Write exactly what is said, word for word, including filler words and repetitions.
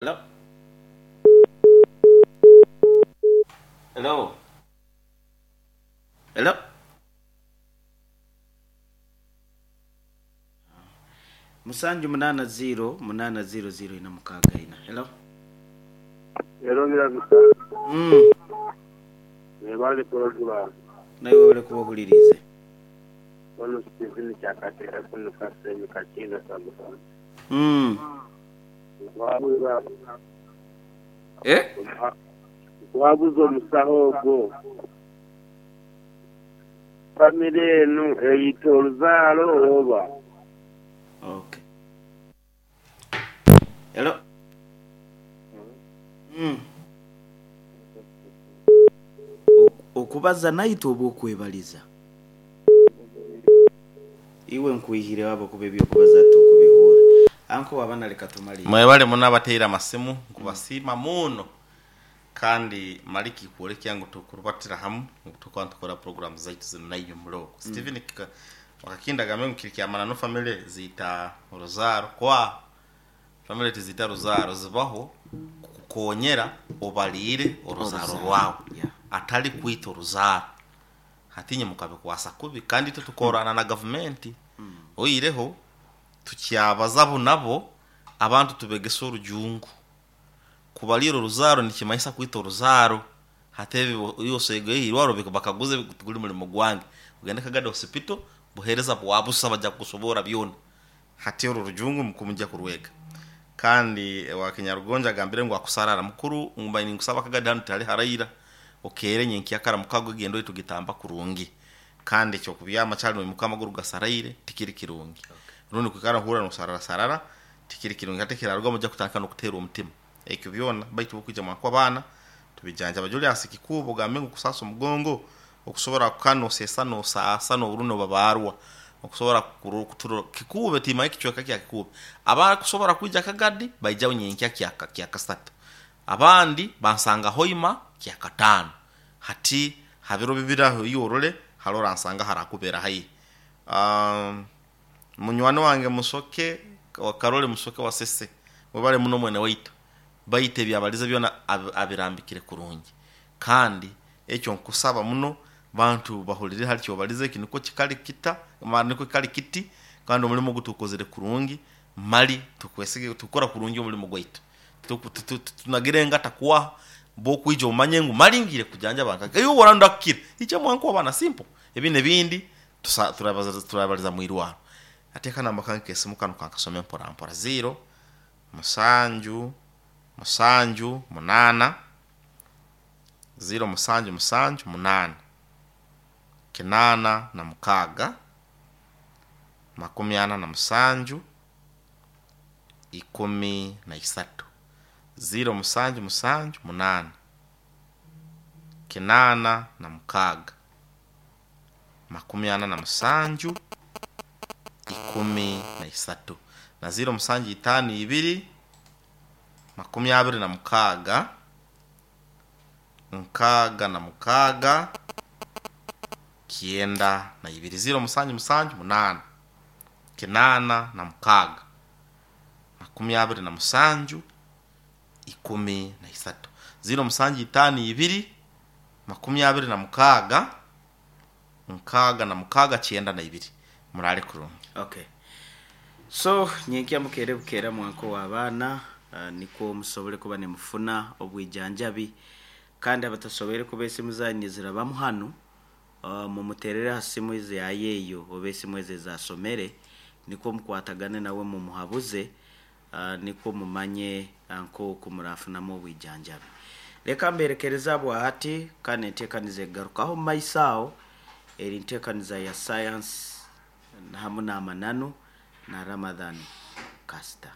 Hello? Hello? Hello? Musanju munana zero munana zero zero ina mukaaga ina. Hello? Hello Miragusa. Mm. Mwebale program. Nawe wale kuwahulirize. Ono Stephen Kyakatera kuno Kasenyi Kakinda Samusana. Mm. Wabuza Eh? wabuza omusaho ogwo. Famire enu eyita oluzaalo oba. Okay. Hello? Mm. Okubaza naito oba okwebaliza. Iwe nkuihire wabo kuba ebyokubaza tukubihura. Anko wabana leka tumali. Mwebale muno abateera amasimu nkubasiima muno kandi maliki kuolekya ngu tukurubatira hamu ngu tukuba nitukora program zaitu zinu naiyo muloko. Mm. Stephen kika wakakinda gambe ngu kiri kyamana no family ziita oruzaaro kwa family tizita ruzaaro zibaho kukonyera obaliire oruzaaro rwawe. Yeah. Atali kwita oruzaaro hatinye mukabikwasa kubi kandi itwe tukorana na gavumenti. Mm. Oireho tukyabaza abo nabo abantu tubegesa orujungu kubalira oruzaaro nikimayisa kwita oruzaaro hate yosego irwaro bakaguze guli mulimo gwange ugende Kagadi Hospital buhereza bwabusa bajja kusobora byona hati uru rujungu mukumujja kurwega kandi wa Kinyarugonja agambire ngu akusarara mukuru ngumba ninkusaba Kagadi hanu tali haraira okere nyenkyakara mukago gendo itugitamba kurungi kandi ekyo kubyama cyali mukama guru gasaraire tikiri kirungi. Okay. Rundi kwikara hura no sarara sarara tikiri kirungi hate kirarwa mujja kutandika no kutera omutima ekyo byona baitu bukujja mwakwa abana tubijanja Julius Kikubo gambe ngu kusasa omugongo okusobora kukano sesa no saasa no runo babarwa okusobora kuturo Kikube tima ekichweka kya Kikube abana kusobora kuja Kagadi baija nyenkya kya kya kasatu abandi bansanga hoima kya katano hati habiro bibiraho yorole halora nsanga harakubera hayi. Um, munywani wange Musoke wa Karole Musoke wa Sese webale muno mwene waitu baite byabaliza byona ab, abirambikire kurungi kandi ekyo nkusaba muno bantu bahulire hali kyo balize kiniko kikali kita niko kikali kiti kandi omulimo gutukozere kurungi mali tukwesige tukora kurungi omulimo gwaitu tunagirenga takuwa bokwija omanye ngu malingire kujanja banka eyo woranda kukira icha mwanko abana simple ebine bindi turabaza turabaliza mwirwaro ateka namba kanke esimu kano kankasome mpora mpora zero musanju musanju munana zero musanju musanju munana kinana na mukaga makumi ana na musanju ikumi na isatu zero musanju musanju munana kinana na mukaga makumi ana na musanju ikumi na isatu na zero musanju itanu ibiri makumi abiri na mukaga nkaga na mukaga kienda na ibiri zero musanju musanju munana kinana na mukaga makumi abiri na musanju ikumi na isatu zero musanju itanu ibiri makumi abiri na mukaga nkaga na mukaga kienda na ibiri murale kurungi. Okay. So nyenkya mukere bukera mwanko w'abaana uh, niko musobole kuba nemufuna obwijanjabi kandi abatasobere kuba esimu zanyu zirabamu hanu uh, mumuterere ha simu izi yayeyo oba esimu ezi zasomere niko mukwatagane nawe mumuhabuze uh, niko mumanye nko murafunamu obwijanjabi. Leka mberekereza bwahati kandi enteekaniza egarukaho mu maiso aho eri nteekaniza ya science hamu n'amananu na Ramadhan Kasta.